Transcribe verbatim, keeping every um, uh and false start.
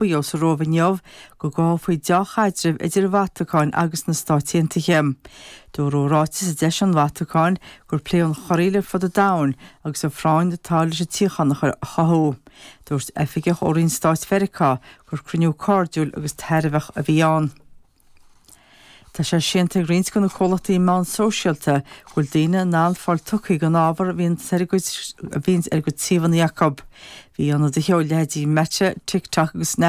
Píó sa Róimh inniu go gcothófaí dea-chaidreamh idir an Vatacáin agus na Stáit Aontaithe. Dúradh i ráiteas a d'eisigh an Vatacáin gur pléadh an chorraíl ar fud an domhain agus an phráinn atá leis an tsíocháin a chothú. Dúirt oifigeach ó Roinn Stáit Mheiriceá gur cruinniú cairdiúil agus tairbheach a bhí ann. Tá sé séanta ag roinnt de na comhlachtaí meán sóisialta go bhfuil daoine in ann fáil tugtha don ábhar a bhíonn ar a gcuid a bhíonn ar a gcuid suíomhanna acu. Bhí ionadaithe ó leithéidí Meta, TikTok agus Snap